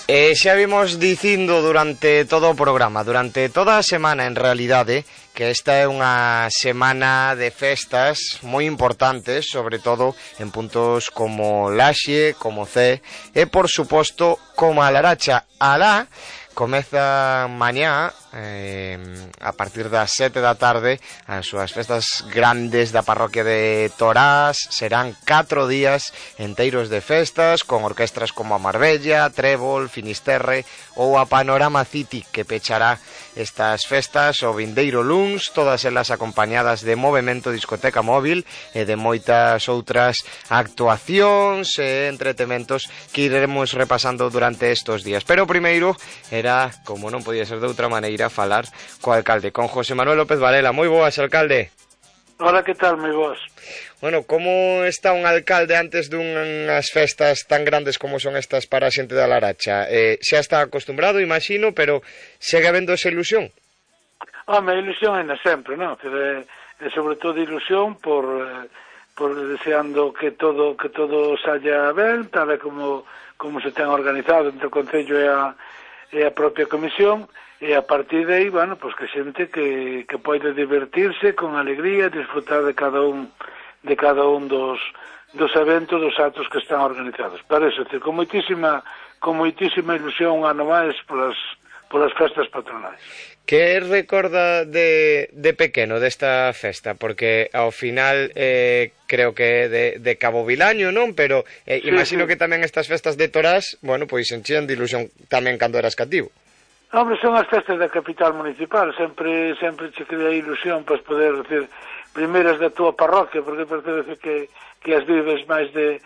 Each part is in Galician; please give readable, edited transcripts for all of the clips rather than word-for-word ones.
Xa vimos dicindo durante todo o programa, durante toda a semana en realidade, que esta é unha semana de festas moi importantes, sobre todo en puntos como Laxe, como Cee e por suposto como a Laracha. Alá comeza mañá a partir das 7 da tarde as súas festas grandes da parroquia de Torás. Serán 4 días enteiros de festas con orquestras como a Marbella, Trébol, Finisterre ou a Panorama City, que pechará estas festas o vindeiro luns, todas elas acompañadas de movemento discoteca móvil e de moitas outras actuacións e entretementos que iremos repasando durante estos días. Pero primeiro era, como non podía ser de outra maneira, falar co alcalde, con José Manuel López Varela. Moi boas, alcalde. Hola, que tal, moi boas? Bueno, como está un alcalde antes dunhas festas tan grandes como son estas para a xente da Laracha? Xa está acostumbrado, imagino, pero segue habendo esa ilusión? Home, a ilusión é sempre, non? Sobre todo ilusión por deseando que todo saia ben, tal e como se ten organizado entre o Concello e a propia Comisión, e a partir de aí, bueno, pues que xente que pode divertirse con alegría, disfrutar de cada un dos eventos, dos actos que están organizados. Para eso, con moitísima ilusión un ano máis polas festas patronais. Que recorda de pequeno desta festa? Porque ao final creo que de Cabo Vilaño, non? Pero imagino que tamén estas festas de Torás, bueno, pois enchían de ilusión tamén cando eras cativo. Hombre, son as festas da capital municipal, sempre che crea ilusión pois poder decir primeiras da túa parroquia, porque parece que as vives máis de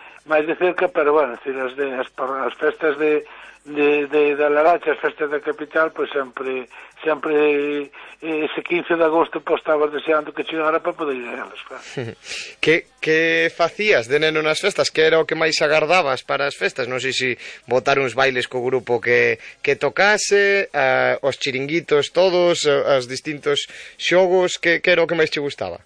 cerca, pero bueno, decir, as festas da Laracha, as festas da capital, pois sempre ese 15 de agosto pois estabas deseando que chegara para poder ir a elas, claro. Que facías de neno nas festas? Que era o que máis agardabas para as festas? Non sei se botar uns bailes co grupo que tocase, os chiringuitos todos, os distintos xogos, que era o que máis che gustaba?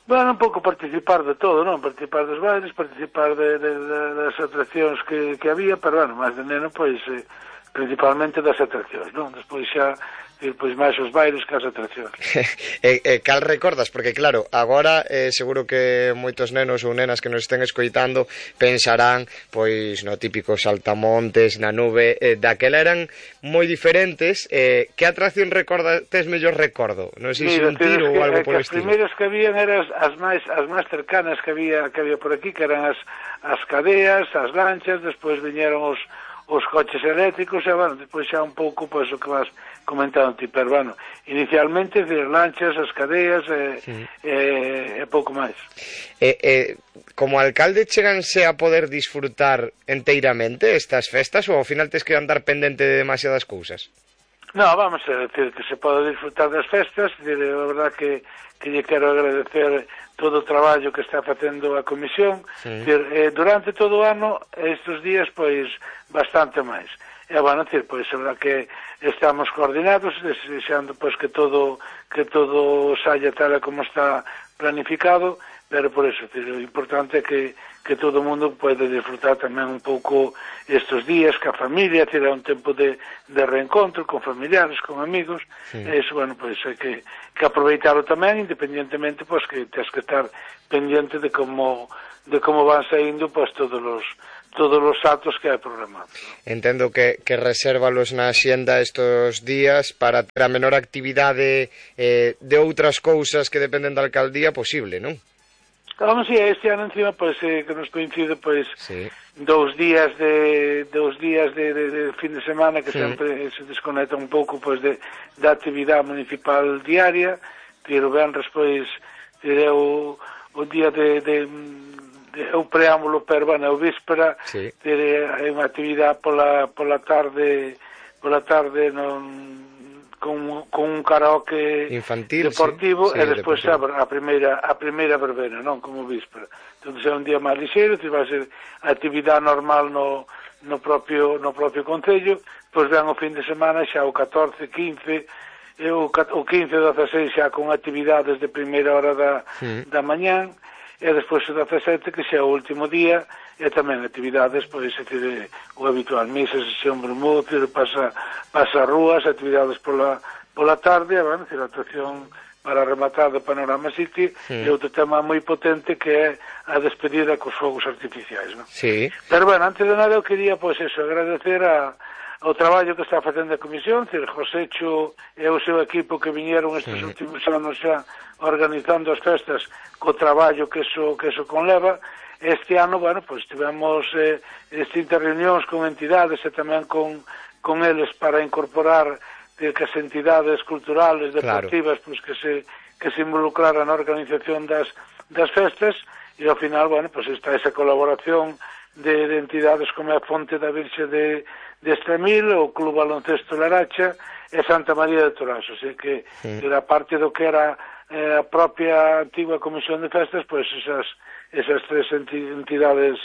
Bueno, un pouco participar de todo, non? Participar dos bailes, participar das atraccións que había, pero, bueno, máis de neno, pois, principalmente das atraccións, non? Despois xa, pois, máis os bailes que as atraccións. Cal recordas? Porque, claro, agora seguro que moitos nenos ou nenas que nos estén escoitando pensarán, pois, no típico saltamontes, na nube, daquela eran moi diferentes. Que atracción tes mellor recordo? Non sei se un tiro ou algo polo estilo. As primeiras que habían eran as máis cercanas que había por aquí, que eran as cadeas, as lanchas, despois viñeron os coches eléctricos, e, bueno, despois xa un pouco, pois, o que vas comentando ti, pero, bueno, inicialmente, as lanchas, as cadeas, e pouco máis. Como alcalde, cheganse a poder disfrutar enteiramente estas festas, ou ao final tes que andar pendente de demasiadas cousas? No, vamos a decir que se pode disfrutar das festas, a verdad que lle quero agradecer todo o traballo que está facendo a Comisión, durante todo o ano, estes días, pois, bastante máis. E, bueno, pois, a verdad que estamos coordinados, desexando, pois, que todo saia tal como está planificado, pero por eso, o importante é que todo o mundo pode disfrutar tamén un pouco estes días ca familia, ter un tempo de reencontro con familiares, con amigos, e iso, bueno, pois hai que aproveitarlo tamén, independientemente, pois, que tens que estar pendiente de como van saindo, pois, todos os actos que hai programados. Entendo que resérvalos na axenda estos días para ter a menor actividade de outras cousas que dependen da alcaldía posible, non? Vamos, este ano encima, pois, que nos coincide, pois, 2 días de fin de semana que sempre se desconecta un pouco, pois, da actividade municipal diaria, o venres, pois, é o día o preámbulo, pero, bueno, o víspera, é unha actividade pola tarde con un karaoke infantil, deportivo, e despois a primeira verbena, non como víspera. Entón, é un día máis lixeiro, vai ser a actividade normal no propio Concello, pois ven o fin de semana xa o 14, 15, o 15, 16 xa con actividades de primeira hora da mañán, e despois o 17, que xa é o último día, e tamén actividades, pois, o habitual, misa, sesión vermú, pasa rúas, actividades pola tarde, bueno, a actuación para rematar de Panorama City, e outro tema moi potente que é a despedida cos fogos artificiais, non? Sí. Pero, bueno, antes de nada eu quería, pois, agradecer ao traballo que está facendo a Comisión, Josécho e o seu equipo que viñeron estes últimos anos xa organizando as festas co traballo que eso conleva. Este ano, bueno, pois tivemos distintas reunións con entidades e tamén con eles para incorporar que as entidades culturales, deportivas, pois que se involucraran na organización das festas, e ao final, bueno, pois está esa colaboración de entidades como a Fonte da Virxe de Estremil, o Club Baloncesto Laracha e Santa María de Torás, así que era parte do que era a propia antigua Comisión de Festas, pois esas tres entidades,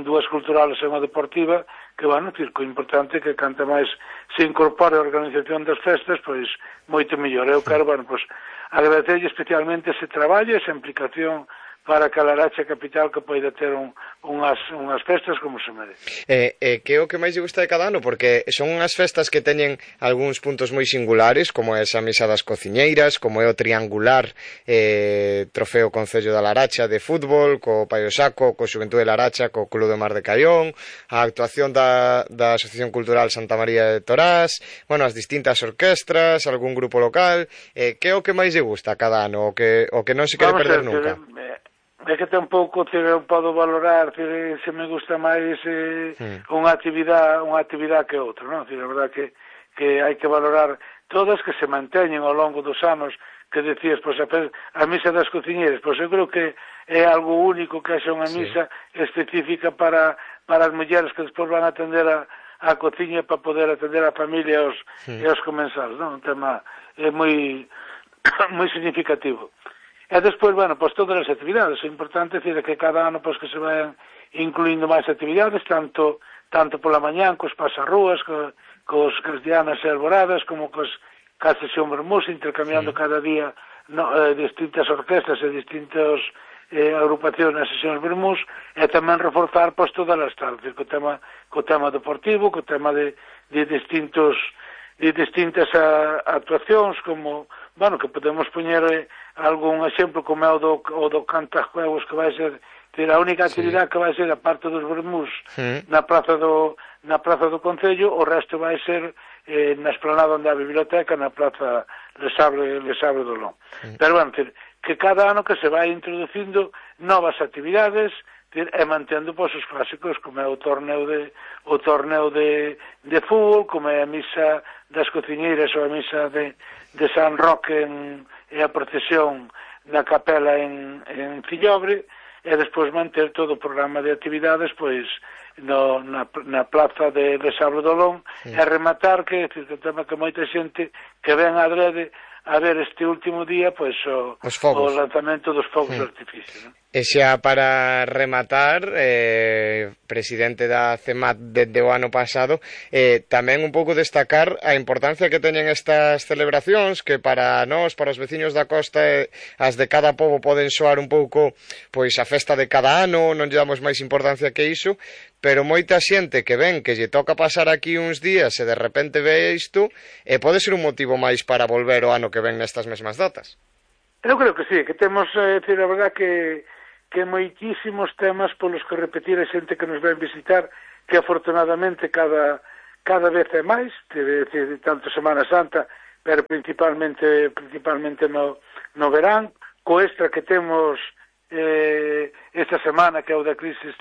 dúas culturales e unha deportiva, que, bueno, circo importante que canta máis se incorpore a organización das festas, pois moito mellor. Eu quero, bueno, pois agradecerlle especialmente ese traballo, esa implicación para que a Laracha capital que poida ter unhas festas como se merece. Que é o que máis lle gusta de cada ano? Porque son unhas festas que teñen algúns puntos moi singulares, como é esa misa das cociñeiras, como é o triangular trofeo Concello da Laracha de fútbol, co Paio Saco, co Xuventude de Laracha, co Club de Mar de Caión, a actuación da Asociación Cultural Santa María de Torás, bueno, as distintas orquestras, algún grupo local. Que é o que máis lle gusta cada ano, o que non se quere perder nunca? É que tampouco eu podo valorar se me gusta máis unha actividade que outra, non? A verdade que hai que valorar todas que se manteñen ao longo dos anos, que decías, pois a misa das cociñeiras, pois eu creo que é algo único que haxa unha misa específica para as mulleres que despois van a atender a cociña para poder atender a familia e aos comensales, non? Un tema moi significativo. E despois, bueno, pois todas as actividades, o importante é que cada ano pois que se vayan incluindo máis actividades, tanto pola mañán, cos pasarrúas, cos cristianas e alboradas, como ca sesión vermús, intercambiando cada día distintas orquestas e distintas agrupacións nas sesións vermús, e tamén reforzar pois todas as tardes, co tema deportivo, co tema de distintas actuacións, como, bueno, que podemos poñer algún exemplo como é o do cantajuegos, que vai ser a única actividade que vai ser a parte dos vermús na praza do Concello, o resto vai ser na esplanada onde a biblioteca, na praza Lesabre do Lón. Pero, bueno, que cada ano que se vai introducindo novas actividades e mantendo pois os clásicos, como é o torneo de fútbol, como é a misa das cociñeiras ou a misa de San Roque e a procesión na capela en Fillobre, e despois manter todo o programa de actividades pois na plaza de Lesabre do Lón, e rematar que o tema que moita xente que ven adrede a ver este último día pois o lanzamento dos fogos de artificio, non? E xa para rematar, presidente da CEMAT desde o ano pasado, tamén un pouco destacar a importancia que teñen estas celebracións, que para nós, para os veciños da costa, as de cada pobo poden soar un pouco pois a festa de cada ano, non lle damos máis importancia que iso, pero moita xente que ven que lle toca pasar aquí uns días e de repente ve isto, pode ser un motivo máis para volver o ano que ven nestas mesmas datas. Eu creo que sí, que temos, a verdad que moitísimos temas polos que repetir a xente que nos ven visitar, que afortunadamente cada vez é máis, tanto Semana Santa, pero principalmente no verán, co extra que temos esta semana, que é o da crise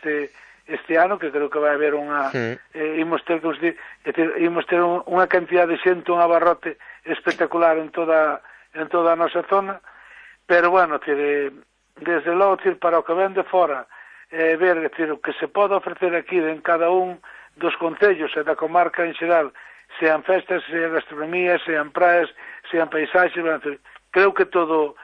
este ano, que creo que vai haber imos ter unha cantidad de xente, un abarrote espectacular en toda a nosa zona, pero, bueno, desde logo, para o que ven de fora, ver o que se pode ofrecer aquí en cada un dos concellos e da comarca en xeral, sean festas, sean gastronomía, sean praias, sean paisaxes, creo que todo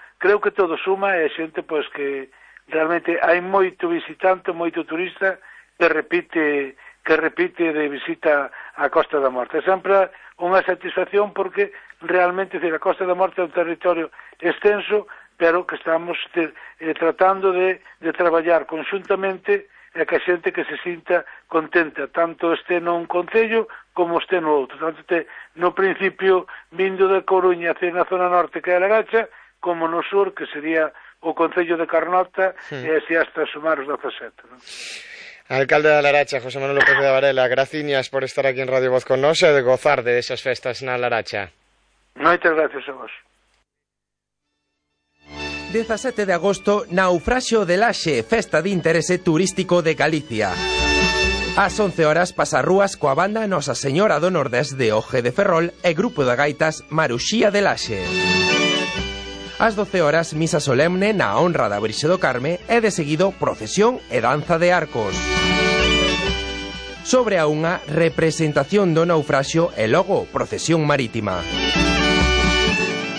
suma, e a xente pois que realmente hai moito visitante, moito turista que repite de visita á Costa da Morte. É sempre unha satisfacción porque realmente a Costa da Morte é un territorio extenso pero que estamos tratando de traballar conxuntamente e que a xente que se sinta contenta, tanto este nun concello como este no outro. Tanto no principio vindo de Coruña hacia na zona norte que é a Laracha, como no sur, que sería o concello de Carnota, e así hasta sumar os 17. ¿No? Alcalde da Laracha, José Manuel López de Varela, graciñas por estar aquí en Radio Voz con nós e de gozar de esas festas na Laracha. Moitas gracias a vos. 17 de agosto, Naufraxio de Laxe, festa de interese turístico de Galicia. Ás 11 horas pasarrúas coa banda Nosa Señora do Nordés de Oje de Ferrol e grupo de gaitas Maruxía de Laxe. Ás 12 horas, misa solemne na honra da Virxe do Carme e de seguido procesión e danza de arcos. Sobre a unha, representación do naufraxio e logo procesión marítima.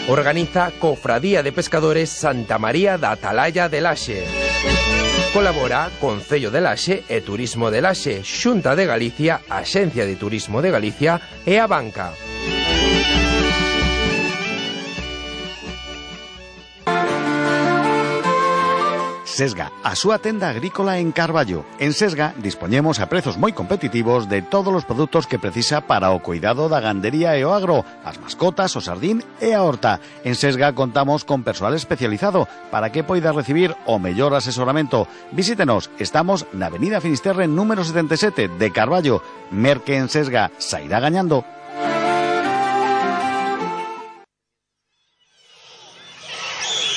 Organiza Cofradía de Pescadores Santa María da Atalaya de Laxe. Colabora Concello de Laxe e Turismo de Laxe, Xunta de Galicia, Axencia de Turismo de Galicia e a Banca. Sesga, a súa tenda agrícola en Carballo. En Sesga dispoñemos a prezos moi competitivos de todos os produtos que precisa para o cuidado da gandería e o agro, as mascotas, o sardín e a horta. En Sesga contamos con persoal especializado para que poida recibir o mellor asesoramento. Visítenos, estamos na Avenida Finisterre número 77 de Carballo. Merque en Sesga, sairá gañando.